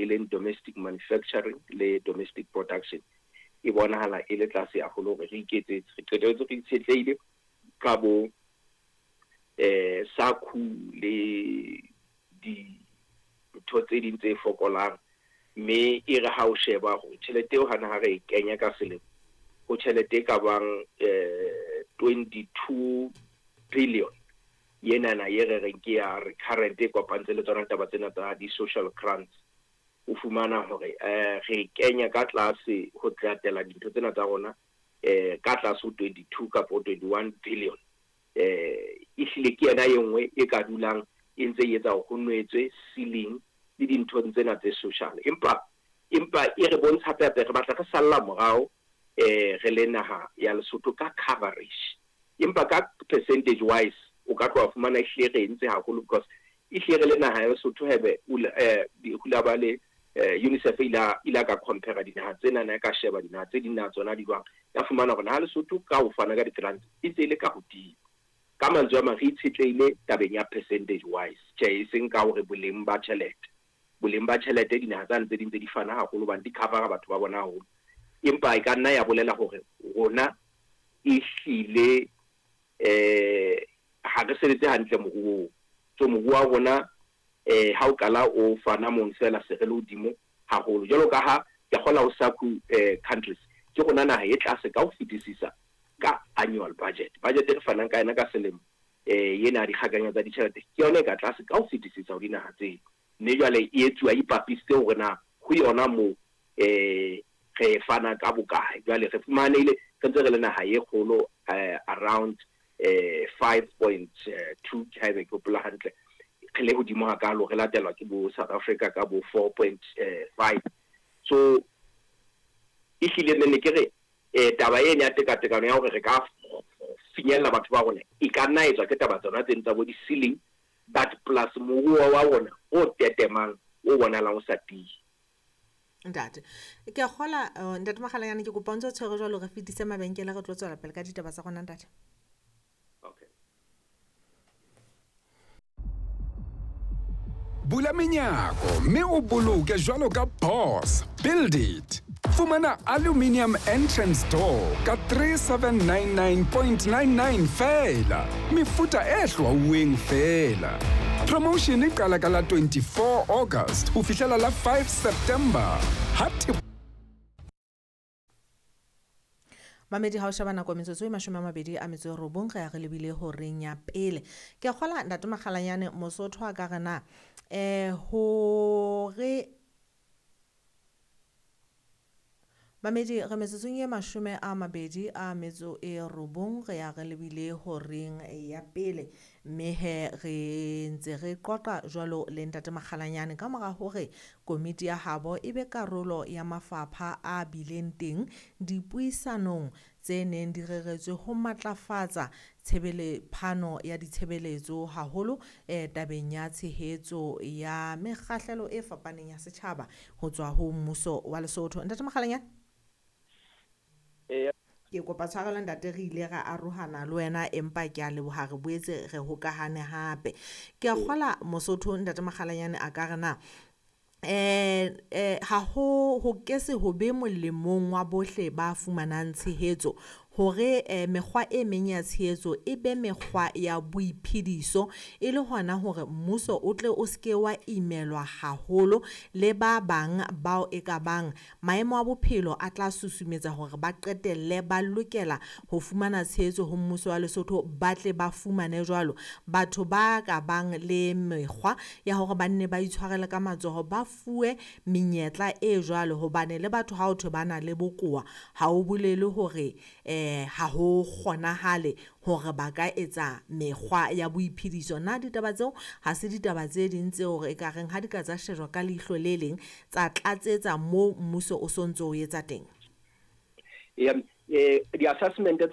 e leng domestic manufacturing le domestic production e bonahala e le tlase haholo hore re iketsetse. Re qetelletse re itshetlehile ka bo SACU le dintho tse ding tse fokolang, mme e re ha o sheba hore tjhelete eo hana ha re e kenya ka selemo ho tjhelete e ka bang 22 billion yenana ye re reng ke ya recurrent e kopantse le tsona taba tsena tsa di-social grants, o fumana hore re kenya ka tlase ho tlatela dintho tsena tsa rona ka tlase ho 22 kapa 21 billion. Ehlile ke yena e nngwe e ka dulang e ntse e etsa hore ho nwetswe ceiling le dinthong tsena tse social, empa e re bontsha hape hape re batla re salla morao re le naha ya Lesotho ka coverage, empa ka percentage wise o ka tloha fumana ehlile re entse haholo, because ehlile re le naha ya Lesotho hebe hula ba le UNICEF ila ka compare dinaha tsena na ka sheba dinaha tse ding na tsona di jwang, ya fumana hore naha Lesotho ka ho fana ka di-grants e ntse e le ka hodimo. Ka mantswe a mang re itshetlehile tabeng ya percentage wise, tjhe e seng ka hore boleng ba tjhelete. Boleng ba tjhelete dinaha tsane tse ding tse di fana haholo hobane di cover-a batho ba bona haholo, empa e ka nna ya bolela hore rona ehlile ha re sebetse hantle moruong. So moruo wa rona ha o qala o fana mono fela se re le hodimo haholo, jwalo ka ha ke kgola ho SACU countries ke rona naha e tlase ka ho fetisisa ka annual budget. Budget e re fanang ka yona ka selemo ena dikgakanyo tsa ditjhelete ke yona e ka tlase ka ho fetisisa ho dinaha tseo, mme jwale e etsuwa e ipapisitse hore na ho yona moo re fana ka bokae. Jwale re fumanehile re ntse re le naha e kgolo around 5.2 haebe ke hopola hantle, re le hodimo hakalo, re latelwa ke bo South Africa ka bo 4.5. So ehlile ne ke re taba ena ya tekatekano ya hore re ka finyella batho ba rona e ka nna etswa ke taba tsona tseno tsa bo di-ceiling, but plus moruo wa rona o tetemang o bonahalang o sa tiye. Ntate, ke a kgola ntate Makgalanyane, ke kopa o ntse o tshwere jwalo, re fetise mabenkele re tlo tswela pele ka ditaba tsa rona ntate. Okay. Bula menyako mme o boloke jwalo ka boss. Build it. Fumana aluminium entrance door ka 3799.99 feela. Mefuta e hlwauweng feela. Promotion e qala ka la 24 August ho fihlela la 5 September. Ha Mamedi ha o sheba nako metsotso e 29 re ya re lebile horeng ya pele. Ke kgola ntate Makgalanyane, Mosotho a ka re na hore Mamedi re metsotsong e 29 re ya re lebile horeng ya pele, mme he re ntse re qoqa jwalo le ntate Makgalanyane ka mora hore komiti ya habo e be karolo ya mafapha a bileng teng dipuisanong tse neng di reretswe ho matlafatsa phano ya ditshebeletso haholo tabeng ya tshehetso ya mekgahlelo e fapaneng ya setjhaba ho tswa ho mmuso wa Lesotho. Ntate Makgalanyane, ke kopa tshwarelo ntate, re ile ra arohana le wena empa ke a leboha re boetse re hokahane hape. Ke a kgola Mosotho ntate Makgalanyane a ka re na ha ho ke se ho be molemong wa bohle ba fumanang tshehetso hore mekgwa e meng ya tshehetso e be mekgwa ya boiphediso, e le hona hore mmuso o tle o seke wa imelwa haholo le ba bang bao e ka bang maemo a bophelo a tla susumetsa hore ba qetelle ba lokela ho fumana tshehetso ho mmuso wa Lesotho, ba tle ba fumane jwalo. Batho ba ka bang le mekgwa ya hore ba nne ba itshwarele ka matsoho ba fuwe menyetla e jwalo, hobane le batho ha o thwe ba na le bokowa ha o bolele hore ha ho kgonahale hore ba ka etsa mekgwa ya boiphediso. Na ditaba tseo ha se ditaba tse ding tseo hore e ka reng ha di ka tsa shejwa ka leihlo le leng tsa tlatsetsa moo mmuso o sontso o etsa teng? Di-assessment tsa